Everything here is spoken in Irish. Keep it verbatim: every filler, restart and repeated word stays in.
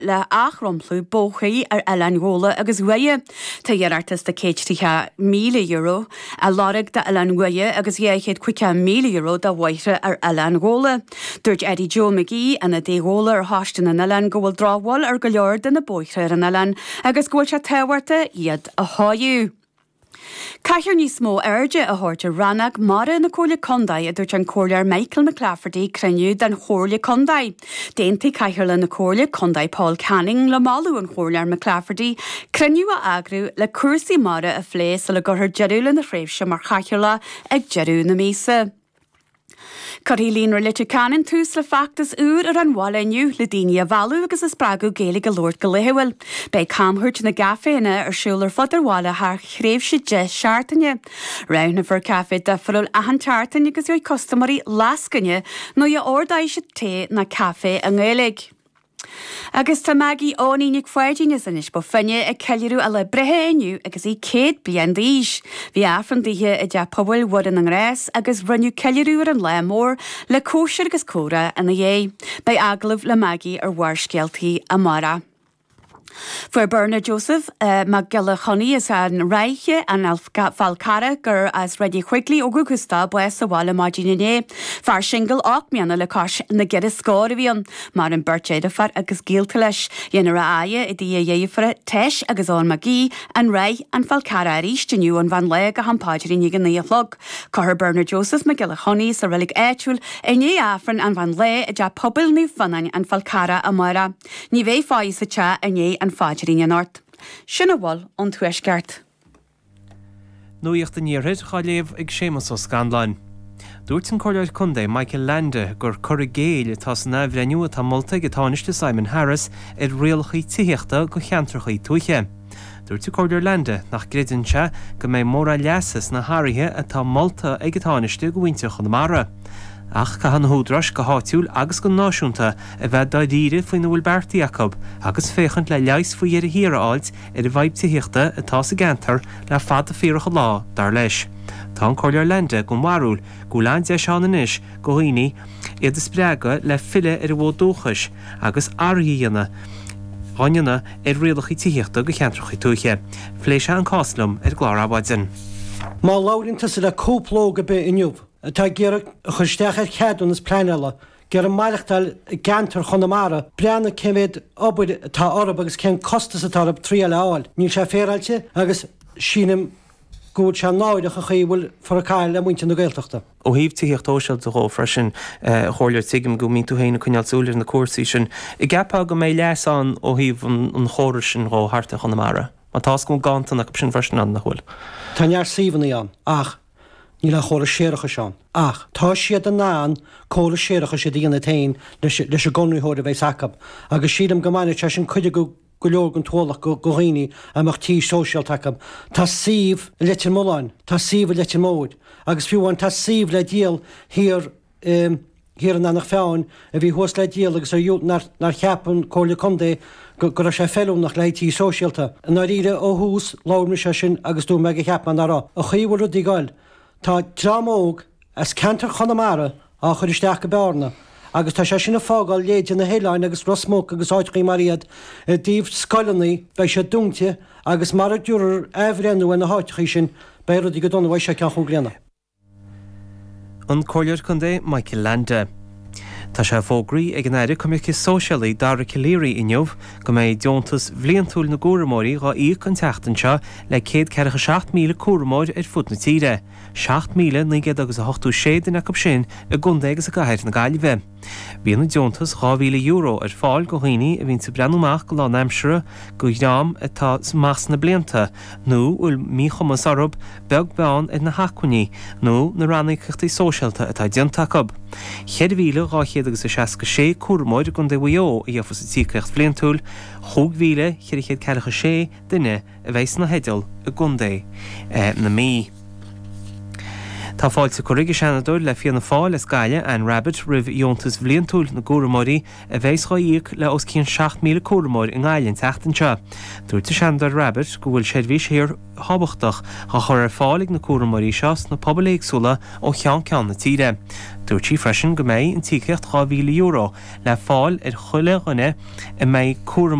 le athdhromchlú bóithre ar Oileán Ghabhla agus Dhoire. Tá iarratas de céad tríocha míle euro á lorg d'Oileán Dhoire agus dhá chéad caoga míle euro do bhóithre ar Oileán Ghabhla. Dúirt Eddie Joe McGee, ionadaí Ghabhla ar Choiste na nOileán go bhfuil drochbhail ar go leor de na bóithre ar an oileán agus go bhfuil sé tábhachtach iad a chóiriú. Caithfear níos mó airde a thabhairt ar rannóg mara na Comhairle Contae a dúirt an Comhairleoir Michael McClafferty ag cruinniú den Chomhairle Contae. D'aontaigh Cathaoirleach na Comhairle Contae Paul Canning le moladh an Chomhairleoir McClafferty cruinniú a eagrú le cúrsaí mara a phlé sula gcuirfear deireadh lena thréimhse mar chathaoirleach ag deireadh na míosa. Cuirfidh Líonra Leitir Ceanainn tús le feachtas úr ar an bhaile inniu le daoine a mhealladh agus a spreagadh Gaeilge a labhairt go laethúil. Beidh camchuairt na gcaiféanna ar siúl ar fud an bhaile thar thréimhse deich seachtaine. Roghnófar caife difriúil achan tseachtain agus gheobhaidh custaiméirí lascaine nuair a ordóidh siad tae nó caife i nGaeilge. Agus tá Maggie Eoiní Nic Pháidín as Inis Bó Finne ag ceiliúradh a lá breithe inniu agus í céad bliain d'aois. Bhí Aifreann daoithe i dTeach Pobail Mhuire na nGrást agus rinneadh ceiliúradh ar an lá mór le cóisir agus comhrá ina dhiaidh. Beidh agallamh le Maggie ar Bharrscéaltaí amárach. Fuair Bernard Joseph uh, Mac Giolla Chonnaí as an Ráithe an Fál Carrach gur as Reilig Quigley ó dhúchas dó bás sa bhaile maidin inné. Fear singil ocht mbliana le cois na gceithre scór a bhí ann, maireann beirt deirfiúr agus gaolta leis. Dhéanfar a fhaire i dtigh a dheirfiúr Teis agus Eoin Mac Aoidh, an Ráith an Fál Carrach arís inniu ón mheán lae go ham paidrín ag a naoi a chlog. Cuirfear Bernard Joseph Mac Giolla Chonnaí sa reilig áitiúil i ndiaidh Aifreann an mheán lae i dTeach Pobail Naomh Fionnáin an Fál Carrach amárach. Ní bheidh faire sa teach i ndiaidh an phaidrín anocht. Sin a bhfuil ón Tuaisceart. Nuacht an Iarthair á léamh ag Séamus Ó Scanláin. Dúirt an Comhairleoir Contae Michael Leainde gur cur i gcéill atá san athbhreithniú atá molta ag an Tánaiste Simon Harris ar rialacha tithíochta go cheantracha tuaithe. Dúirt an Comhairleoir Leainde nach gcreideann sé go mbeidh mórán leasa sna hathruithe atá molta ag an Tánaiste go mhuintir Chonamara. Ach caithfidh na húdaráis go háitiúil agus go náisiúnta a bheith dáiríre faoina bhfuil beartaithe acu agus féachaint le leigheas faoi dheireadh thiar a fháilt ar an bhfadhb tithíochta atá sa gceantar le fada fíorach an lá dar leis. Tá an Comhairleoir Leainde den bharúil go bhfuil an-deis ann anois go dhaoine iad a spreagadh le filleadh ar a bhfód dúchais agus athruithe a dhéanamh á ndéanamh ar rialacha tithíochta go cheantracha tuaithe. Phléigh sé an cás liom ar an gclár Adhmhaidin. Má labhraíonn tusa le cúpla óg ar bith inniu atá ag iarraidh a chur isteach ar cheadúnas pleanála, ag iarraidh maireachtáil i gceantar Chonamara, breathnaigh cé mhéad obair atá orthu agus cén costas atá orthu triail a fháil. Níl sé féaráilte agus sílim go bhfuil sé náireach an chaoi a bhfuil furacáil le muintir na Gaeltachta. Ó thaobh tithíocht shóisialta dhó freisin a Chomhairleoir tuigim go mbíonn tú féin ag coinneáil súil ar na cúrsaí sin. An gceapfá go mbeidh leas ann ó thaobh an chórais sin dhó thart ar Chonamara. Má tá go ganntan acu sin freisin ann nach bhfuil. Tá neart suíomhanna ann ach níl an chóras séarachais ann. Ach tá siad in ann córas séarachais a dhéanamh féin leis leis an gconraitheoir a bheas acu. Agus sílim go mbainfidh sé sin cuid go go leor den t-ualach go go dhaoine a mbeadh tí sóisialta acu. Tá suíomh i Leitir Mealláin, tá suíomh i Leitir Móir, agus fiú amháin tá suíomh le díol thiar thiar in Eanach Mheáin a bhí thuas le díol agus ar nár nár cheap an Comhairle Contae go go raibh sé feiliúnach le haghaidh tí sóisialta. I ndáiríre ó thús labhair mise sin agus dúirt mé go cheap mé nach raibh. An chaoi a bhfuil rudaí ag goil. Tá dream óg as ceantar Chonamara á chur isteach go Bearna agus tá sé sin ag fágáil leithéide na hoileáin agus Ros Muc agus áiteachaí mar iad i dtaobh scoileanna beidh siad dúnta agus mara dtabharfar athbhreithniú ar na háiteachaí sin beidh rudaí go dona uaidh seo ceann chúig bliana. An Comhairleoir Contae Michael Leainde. Tá sé fógraithe ag an Aire Coimirce Sóisialaí Dara Calleary inniu go mbeidh deontas bhliantúil na gcúramóirí dhá íoc an tseachtain seo le céad ceathracha seacht míle cúramóir ar fud na tíre, seacht míle naoi gcéad agus a hochtó sé duine acu sin i gcontae agus i gcathair na Gaillimhe. Bíonn an deontas dhá mhíle euro ar fáil go dhaoine a bhíonn ag breathnú amach go lánaimseartha go dhream atá amach sna blianta nó bhfuil míchumas orthu beag beann ar na hacmhainní nó na ranníocaíochtaí sóisialta atá déanta acu. Ceithre mhíle dhá chéad agus a seasca sé cúramóir i gContae Mhaigh Eo a gheofas an tíocaíocht bhliantúil, chúig mhíle ceithre chéad ceathracha sé duine a bheidh sna theideal i gContae na Mí. Tá fáilte curtha ag an Seanadóir le Fianna Fáil as Gaillimh Anne Rabbitte roimh dheontas bhliantúil na gcúramóirí a bheas á íoc le os cionn seacht míle cúramóir i nGaillimh an tseachtain seo. Dúirt an Seanadóir Rabbitte go bhfuil seirbhís fíorthábhachtach á chur ar fáil ag na cúramóirí seo sna pobail éagsúla ó cheann ceann na tíre. Dúirt sí freisin go mbeidh an tíocht dhá mhíle euro le fáil ar chuile dhuine a mbeidh cúram